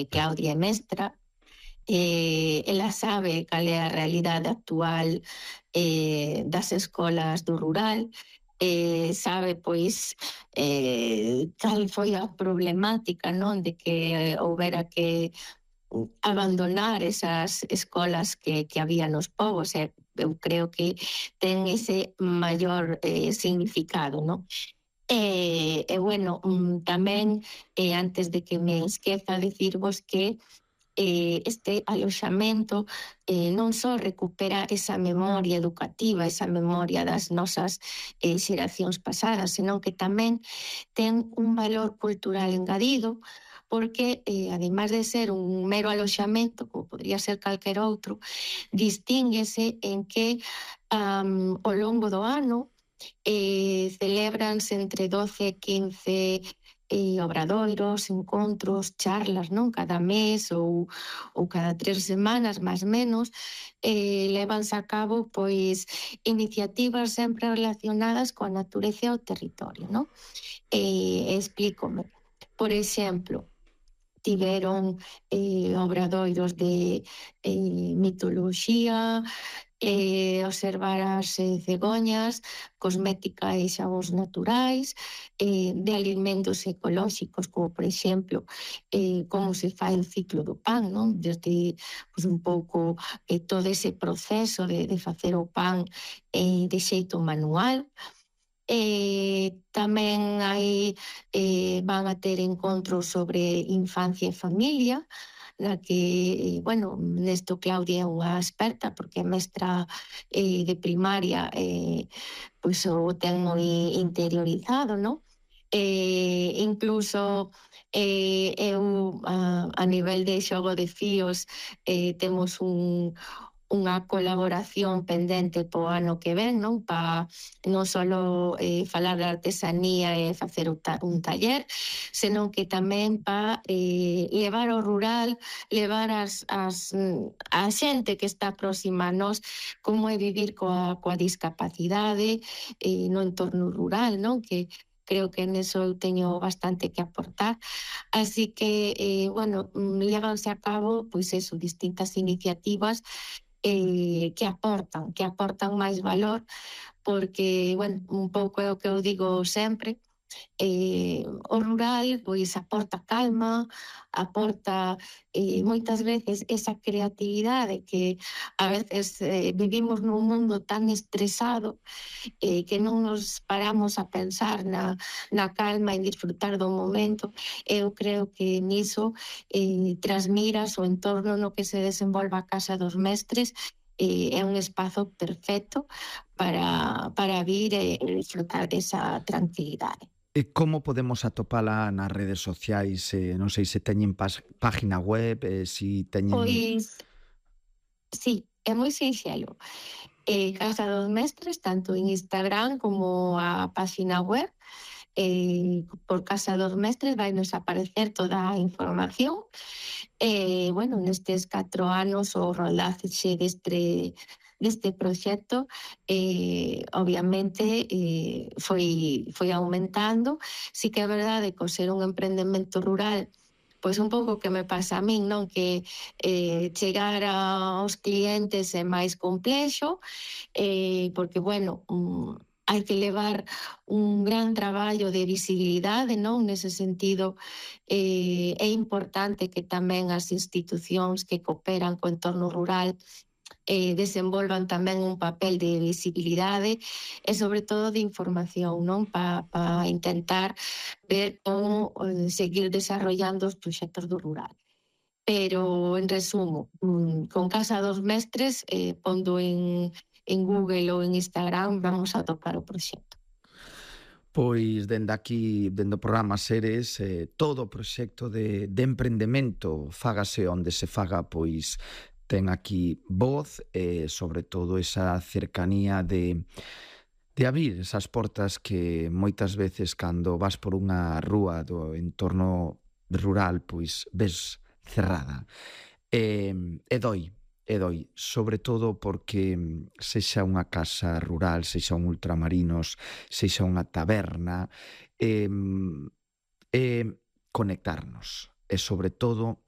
Claudia é mestra, ela sabe cal é a realidade actual das escolas do rural, sabe, pois, cal foi a problemática, non, de que houbera que abandonar esas escolas que había nos povos, eu creo que ten ese maior significado, non? Bueno, tamén, antes de que me esqueza, decirvos que este aloxamento non só recupera esa memoria educativa, esa memoria das nosas xeracións pasadas, senón que tamén ten un valor cultural engadido, porque, ademais de ser un mero aloxamento, como podría ser calquer outro, distínguese en que ao longo do ano celebranse entre 12 e 15 obradoiros, encontros, charlas, non? Cada mes ou cada 3 semanas, máis menos, levanse a cabo pois iniciativas sempre relacionadas coa natureza e o territorio, non? Explícome. Por exemplo, tiveron obradoiros de mitoloxía, observar as cegoñas, cosmética e xabóns naturais, de alimentos ecolóxicos, como por exemplo, como se fai o ciclo do pan, non? Desde pues, un pouco todo ese proceso de facer o pan de xeito manual. Tamén hai, van a ter encontros sobre infancia e familia, na que, bueno, nesto Claudia é unha experta porque é mestra de primaria, pois o ten moi interiorizado, non? Incluso eu a nivel de xogo de fíos temos unha colaboración pendente po ano que ven, non? Pa non só falar de artesanía e facer un taller, senón que tamén pa levar ao rural, levar a xente que está próxima a nós como é vivir coa discapacidade no entorno rural, non? Que creo que neso eu teño bastante que aportar. Así que, bueno, levanse a cabo, pois eso, distintas iniciativas que aportan máis valor, porque, bueno, un pouco é o que eu digo sempre, o rural pois aporta calma, aporta moitas veces esa creatividade que a veces vivimos nun mundo tan estresado que non nos paramos a pensar na calma e disfrutar do momento. Eu creo que niso Trasmiras, o entorno no que se desenvolva a Casa dos Mestres, é un espazo perfecto para vir e disfrutar desa tranquilidade. E como podemos atopala nas redes sociais? Non sei se teñen página web, se teñen... Pois, sí, é moi sinxelo. Casa dos Mestres, tanto en Instagram como a página web, por Casa dos Mestres vai nos aparecer toda a información. Bueno, nestes 4 anos o rodaxe deste proxecto obviamente foi aumentando. Sí que é verdade que ao ser un emprendemento rural, pois un pouco que me pasa a min, non? Que chegar aos clientes é máis complexo, porque, bueno, hai que levar un gran traballo de visibilidade, non? Nese sentido, é importante que tamén as institucións que cooperan co entorno rural desenvolvan tamén un papel de visibilidade e sobre todo de información, non? Pa intentar ver como seguir desarrollando os proxectos do rural. Pero, en resumo, con Casa dos Mestres, pondo en Google ou en Instagram, vamos a topar o proxecto. Pois, dende aquí, dende o programa Seres, todo o proxecto de emprendemento, fágase onde se faga, pois ten aquí voz e, sobre todo, esa cercanía de abrir esas portas que moitas veces cando vas por unha rúa do entorno rural, pois ves cerrada. E doi, sobre todo porque sexa unha casa rural, sexa un ultramarinos, sexa unha taberna, conectarnos. E, sobre todo,